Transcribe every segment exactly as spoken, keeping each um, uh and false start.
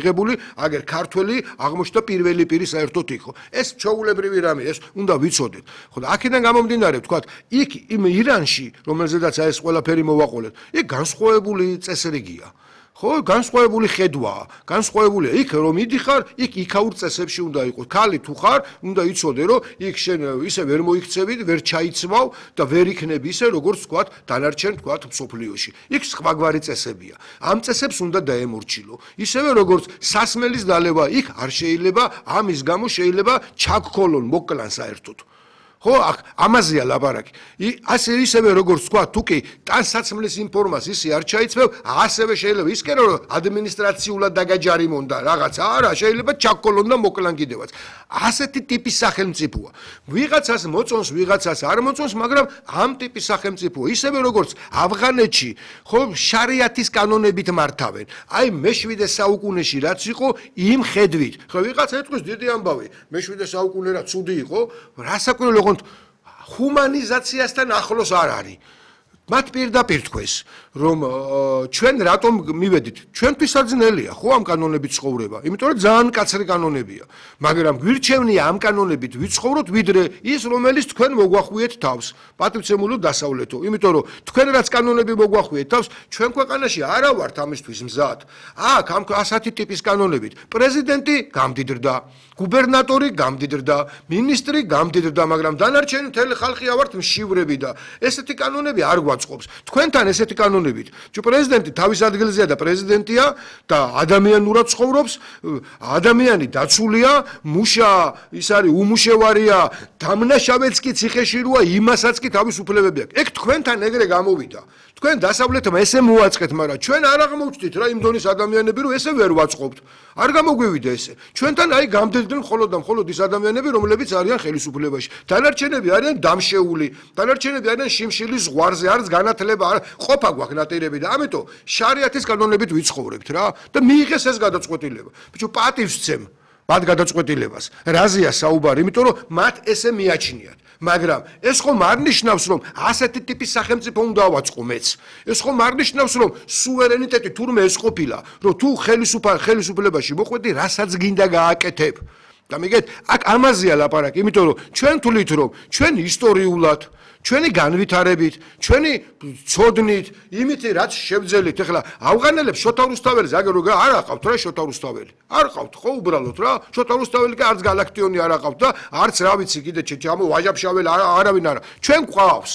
ღებული აგერ ქართველი აღმოჩნდა პირველი პირი საერთოდ იყო. ეს ჩვეულებრივი რამე, ეს უნდა ვიცოდეთ. ხო და აქედან გამომდინარე, ვთქვათ, იქ იმ ირანში, რომელზედაც ეს ყველაფერი მოვაყოლეთ, იქ განსხვავებული წესრიგია. ხო, განსხვავებული ხედვაა, განსხვავებულია. იქ რომ მიდიხარ, იქ იქაურ წესებში უნდა იყოს. ქალი თუ ხარ, უნდა იცოდე, რომ იქ შენ ისე ვერ მოიქცევი, ვერ ჩაიცმავ და ვერ იქნები ისე, როგორც ვთქვათ, დანარჩენ ვთქვათ მსოფლიოში. იქ სხვაგვარი წესებია. ამ წესებს უნდა დაემორჩილო. ისევე როგორც სასმელის დალევა იქ არ შეიძლება, ამის გამო შეიძლება ჩაგქოლონ, მოკლან საერთოდ. ხო, ამაზეა ლაპარაკი. ასე ისევე როგორც თქვა, თუ კი ტანსაცმლის ინფორმაციას არ ჩაიცმევ, ასევე შეიძლება ის კერო რომ ადმინისტრაციულად დაგაჯარიმონ და რაღაცა არა, შეიძლება ჩაგკოლონ და მოკლან კიდევაც. ასეთი ტიპის სახელმწიფოა. ვიღაცას მოწონს, ვიღაცას არ მოწონს, მაგრამ ამ ტიპის სახელმწიფოა. ისევე როგორც ავღანეთში, ხო, შარიათის კანონებით მართავენ. აი მეშვიდე საუკუნეში რაც იყო, იმ ხედვით. ხო, ვიღაცა ეთქვის დიდი ამბავი, მეშვიდე საუკუნე რა ცუდი იყო, რასაკვირველია ჰუმანიზაციასთან ახლოს არ არის. მათ პირდაპირ თქვეს, რომ ჩვენ რატომ მივედით? ჩვენთვისაც ძნელია, ხო, ამ კანონებით ცხოვრება, იმიტომ რომ ძალიან კაცრი კანონებია. მაგრამ გვირჩევნია ამ კანონებით ვიცხოვროთ, ვიდრე ის, რომელიც თქვენ მოგვახვიეთ თავს, პატივცემულო დასავლეთო. იმიტომ რომ თქვენ რაც კანონები მოგვახვიეთ თავს, ჩვენ ქვეყანაში არა ვართ ამისთვის მზად. აქ ამ ასეთი ტიპის კანონებით პრეზიდენტი გამდიდრდა, გუბერნატორი გამდიდრდა, მინისტრი გამდიდრდა, მაგრამ დანარჩენი მთელი ხალხი ავართ მშივრები და ესეთი კანონები არ გვაწყობს. თქვენთან ესეთი კანონებით, თუ პრეზიდენტი თავის ადგილზეა და პრეზიდენტია და ადამიანურად ცხოვრობს, ადამიანი დაცულია, მუშა ის არის უმუშევარია, დამნაშავეც კი ციხეში როა, იმასაც კი თავის უფლებები აქვს. ეგ თქვენთან ეგრე გამოვიდა. თქვენ დასავლეთმა ესე მოაწყეთ, მაგრამ ჩვენ არ აღმოჩნდით რა იმ დონის ადამიანები, რომ ესე ვერ ვაწყობთ. არ გამოგვივიდა ესე. ჩვენთან აი გამდიდნენ მხოლოდ და მხოლოდ ის ადამიანები, რომლებიც არიან ხელისუფლებაში. დანარჩენები არიან დამშეული, დანარჩენები არიან შიმშილის ზღვარზე, არც განათლება, ყოფა გვაქვს ნატირები და ამიტომ შარიათის კანონებით ვიცხოვრებთ რა და მიიღეს ეს გადაწყვეტილება. ბიჭო, პატივს ვცემ მათ გადაწყვეტილებას. რაზეა საუბარი? იმიტომ რომ მათ ესე მიაჩნიათ. მაგრამ ეს ხომ არ ნიშნავს, რომ ასეთი ტიპის სახელმწიფო უნდა ავაწყო მეც. ეს ხომ არ ნიშნავს, რომ სუვერენიტეტი თურმე ეს ყოფილა, რომ თუ ხელისუფალ ხელისუფლებაში მოხვედი, რასაც გინდა გააკეთებ. და მიგეთ, აქ ამაზეა ლაპარაკი, იმიტომ რომ ჩვენ თვლით, რომ ჩვენ ისტორიულად ჩვენი განვითარებით, ჩვენი ცოდნით, იმითი რაც შევძელით, ეხლა ავღანელებს შოთა რუსთაველის აგერ რო არ აყავთ რა შოთა რუსთაველი. არ ყავთ ხო უბრალოდ რა, შოთა რუსთაველი კი არც გალაქტიონი არ აყავთ და არც რა ვიცი კიდე ჩამო ვაჟაბშაველი არავინ არა. ჩვენ გვყავს.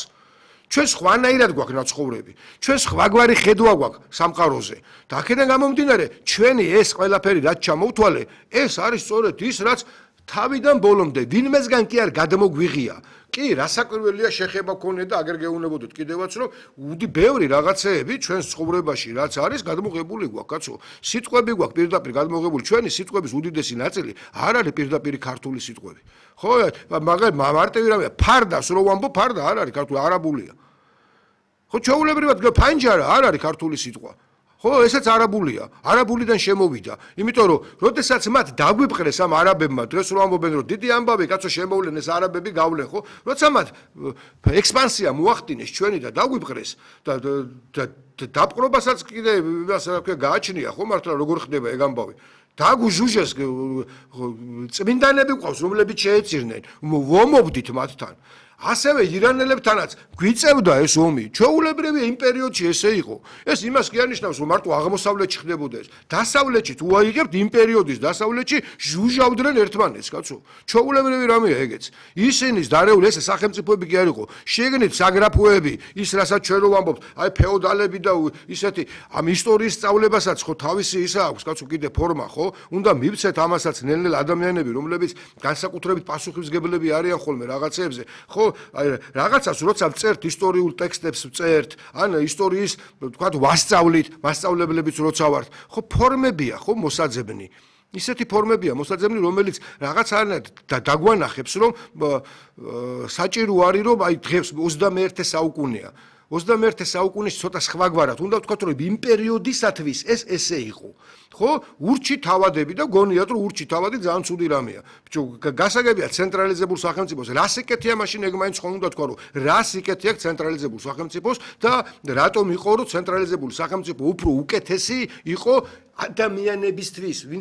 ჩვენ სხვანაირად გვაქვს ნაცხოვრები. ჩვენ სხვაგვარი ხედვა გვაქვს სამყაროზე. და აქედან გამომდინარე, ჩვენი ეს ყველაფერი რაც ჩამოვთვალე, ეს არის სწორედ ის, რაც თავიდან ბოლომდე ვინმესგან კი არ გადმოგვიღია. კი, რასაკვირველია შეხება გქონია და აგერ გეუბნებოდეთ კიდევაც, რომ უდი ბევრი რაღაცეები ჩვენს ცხოვრებაში რაც არის, გადმოღებული გვაქვს, კაცო. სიტყვები გვაქვს პირდაპირ გადმოღებული, ჩვენი სიტყვების უდიდესი ნაწილი არ არის პირდაპირ ქართული სიტყვები. ხო, მაგრამ მარტივი რამეა, ფარდას რო ვამბობ, ფარდა არ არის ქართული, არაბულია. ხო, ჩვეულებრივად ფანჯარა არ არის ქართული სიტყვა. ხო, ესეც არაბულია, არაბულიდან შემოვიდა. იმიტომ რომ, როდესაც მათ დაგვიპყრეს ამ არაბებმა, დღეს რო ამბობენ, რომ დიდი ამბავი, კაცო შემოვლენ ეს არაბები გავლენ, ხო? როცა მათ ექსპანსია მოახდინეს ჩვენი და დაგვიპყრეს და დაპყრობასაც კიდე ასე რა ქვია გააჩნია, ხო, მართლა როგორ ხდება ეგ ამბავი? დაგუჟუჟეს წმინდანები ყავს, რომლებიც შეეწირნენ, ვომობდით მათთან. ასევე ირანელებთანაც გვიწევდა ეს ომი. ჩვეულებრივი იმ პერიოდში ესე იყო. ეს იმას კი არნიშნავს, რომ მარტო აღმოსავლეთში ხდებოდა ეს. დასავლეთში თუ აიღებთ იმ პერიოდის დასავლეთში ჟუჟავდნენ ერთმანეთს, კაცო. ჩვეულებრივი რამეა ეგეც. ისინის დარეული ეს სახელმწიფოები კი არ იყო. შეგნით საგრაფოები, ის რასაც ჩვენ რო ვამბობთ, აი ფეოდალები და ისეთი ამ ისტორიის სწავლებასაც ხო თავისი ისა აქვს, კაცო, კიდე ფორმა, ხო? უნდა მივცეთ ამასაც ნელ-ნელა ადამიანები, რომლებიც განსაკუთრებით პასუხისმგებლები არიან ხოლმე რაღაცეებზე. ხო, აი რაღაცას როცა წერთ ისტორიულ ტექსტებს წერთ, ან ისტორიის თქვათ ვასწავლით, მასწავლებლებიც როცა ვართ, ხო ფორმებია, ხო მოსაძებნი. ისეთი ფორმებია მოსაძებნი, რომელიც რაღაცანაირად დაგვანახებს, რომ საჭირო არის, რომ აი დღეს ოცდამეერთე საუკუნეა. ოცდამეერთე საუკუნის ცოტა სხვაგვარად, უნდა ვთქვათ, რომ იმ პერიოდისათვის ეს ესე იყო. ხო, ურჩი თავადები და გონიათ, რომ ურჩი თავადი ძალიან ცუდი რამეა. ბიჭო, გასაგებია ცენტრალიზებულ სახელმწიფოს. რას იკეთია მაშინ ეგ მაინც ხომ უნდა თქვა, რომ რას იკეთია ცენტრალიზებულ სახელმწიფოს და რატომ იყო, რომ ცენტრალიზებული სახელმწიფო უფრო უკეთესი იყო ადამიანებისთვის, ვინც